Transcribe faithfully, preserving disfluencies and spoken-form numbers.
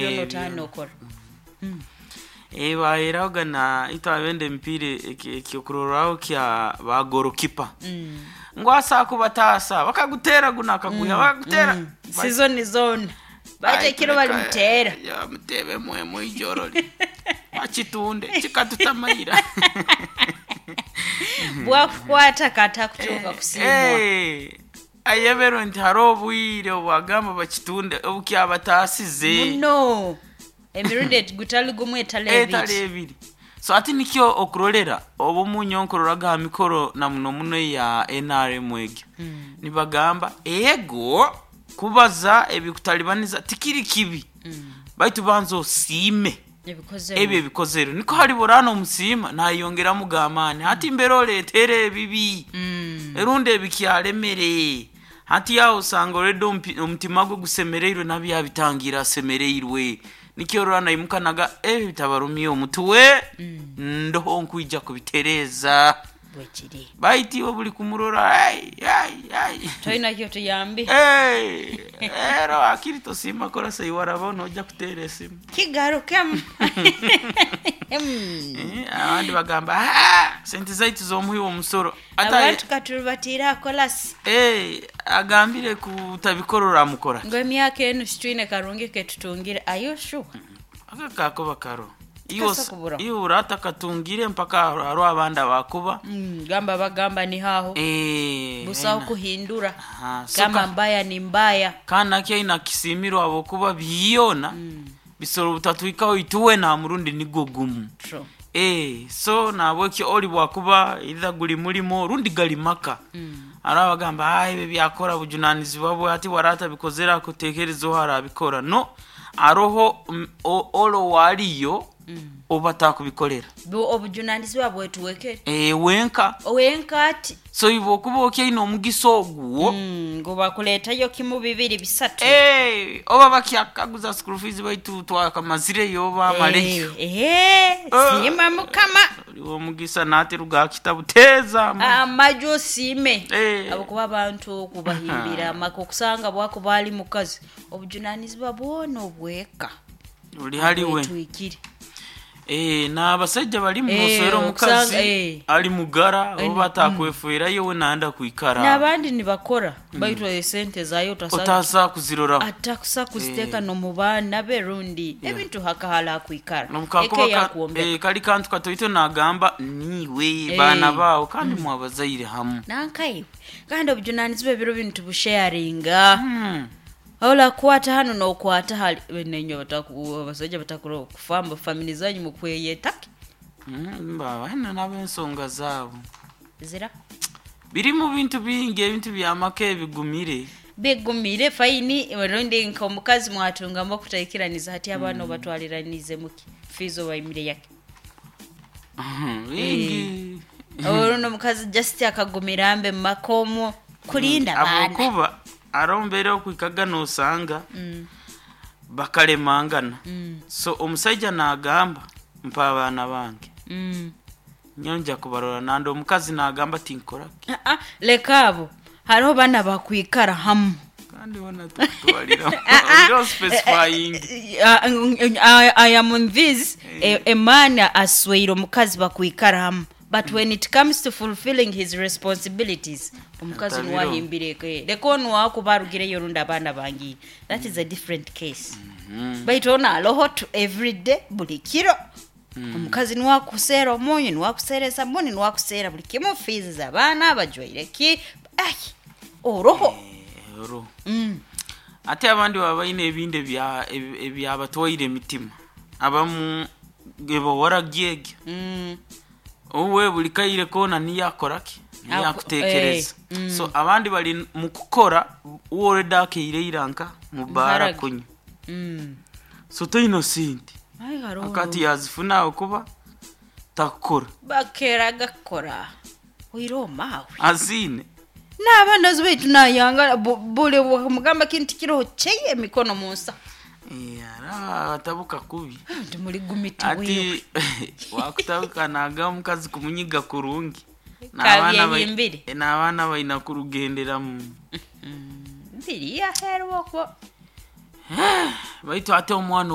Byona Eh, otanokora. Eh, baheraga na itwabenda emipiira ekyokurorraho kya ba goalkeeper ngo asa kubatasa bakagutera guna akaguya bakagutera. Season zone batekiro balimutera. Ya mutebe mwe mwijorori bakitunde kikatutamayira. Bwakukwata kata kutuuka kusiimwa. Eh, ayeberwe nti hariho obwire obwagamba bakitunde obukyabatasize. Muno emirundi gutali gumu etali etali ebiri. Ebiri. So ati nikyo okurolera obumunyo nkuroraga ha mikoro na muno muno ya N R M egyo nibagamba ego kubaza ebikutalibaniza tikiri kibi, baitu banza osiime ebikozere. Ebyo ebikozere niko hali borana omusiima nayongeramu gamaani hati mbere oleetere ebibi Mm. erundi ebikyalemere hati yawe osanga olwedde omupi- omutima gwe gusemereirwe nabyo yabitangira asemereirwe nikyo orora naimukanaga ebi bitabarumye omutwe ndoho nkwija kubitereeza. Bwekiri. Baiti iwe buli kumurora ai ai ai. Tolina tuyambi. Hey, ero akiri tosiima kora seiwaraba nojja kuteera esimu. Kigarukemu. Mm. Eh, abandi bagamba, "Ah, sente zaitu z'omuhi w'omusoro." Ate abantu katulubatiire akolasi. Eh, agambire kutabikorora amukora. Ngo emyaka enu situine karungi ketutungire ayoshu. Aka kakuba karo. Kasa kubura. Iwe urata katungire mpaka hariho abandi abakuba. Mm, gamba bagamba ni haho Eh, busaho aina. kuhindura. Aha, so kama ka- mbaya ni mbaya. Kana kyaina kisimirwe abokuba byona bisoro butatwikaho ituwe na murundi nigo gumu. True. Eh, so nabwekyo oli bwakuba either guli mulimo rundi gali maka mm. Ara bagamba, "Ah, ebyo byakora bujunanizibwa bwe ati warata bikozera kutekerezo harabikora no aroho mm, o- olo waliyo mm. Oba takubikolera. Bu- obujunanizibwa bwetuwekere. E, wenka. Owenka ati. So iwe okuba okyaina omugisa ogwo. Mm, ngo bakuleetayo kimu bibiri bisatu. Eh, oba bakyakaguza school fees baitu twakamazireyo oba amaleyo. Eh, eh, siima mukama. Oliwo omugisa nateruga kitabuteeza. Amaju osiime. Eh. Abakuba abantu okubahimbira amaka okusanga bwakuba ali mukazi obujunanizibwa bwona obweka oli haliwe. Bwetwikire. Eh, n'abasajja bali Eh, munoswera omukazi okusanga- eh. ali mugara oba atakwefuirayo we nanda kwikara. N'abandi nibakora baitu esente zayo otasa otasa kuziroraho. Atakusa kuziteeka nomu baana be rundi ebintu hakahala akwikara Nobukakuba eka ka- yakwombeka. eh, kali kantu katoito nagamba niwe Eh. baana baawo kandi mwabazaire hamu. Nankaiwe kandi obujunanizibwa ebiro binu tubusharinga. Hmm. Olakwata hano nokwata hali nenyo abasajja batakura okufamba family zanyu mukweyetake. Mm, baba hino n'ab'ensonga zaabo. Zira. Biri mu bintu bingi ebintu byamaka ebigumire. Bigumire fine rundi nka omukazi mwatungamu okutaikiraniza hati abaana obatwaliranize muki fees obaimire yake. Bingi. Oluno omukazi just akagumira mbe mumaka omwo kulinda baana. Abokuba arombeera okwikaga nosanga bakalemangana, so omusajja nagamba mpa abaana bange, Mm. nyonja kubarora nandi omukazi nagamba tinkoraki. Ah, ah, leka abo hariho bana bakwikara hamu. Kandi bona tukutwalira Ah, ah. oliro specifying. I, I am on this a, a man asweire omukazi bakwikara hamu, but when it comes to fulfilling his responsibilities omukazi Atabiro. niwahimbireke leka onu wakuba arugireyo rundi abaana bangiire, that is a different case, baitu ono aloho to every day buli kiro omukazi niwakuseera omunyu niwakuseera esabuni niwakuseera buli kimu fees z'abaana bajwaire ki ai oroho. Eh, oro Mm. ate abandi baba balina ebindi ebya- ebi- ebyabatwaire emitima abamu ebawaragyegyo. Mm. Owe buli kaire kona niyo akoraki niyo Aku- akutekereza. eh, mm. So abandi bali mukukora woreda akeire iranka mubaara Muharage. kunywa. Mm. So toina sente. Ai, hariho Akati yazifuna okuba takukora. Bakera gakora oire omaawe. Azine. N'abaana baitu nayanga bu- buli mugamba kintu kiroho kyeye emikono munsa. Eh, ara atabuka kubi. Nti muli gumiti wiwe. Ati wakutabuka naga omukazi kumunyiga kurungi N'abaana bai- Kabyehimbire. eh, n'abaana balina kurugenderamu. Mbiri yaherwa okwo. Baitu ate omwana.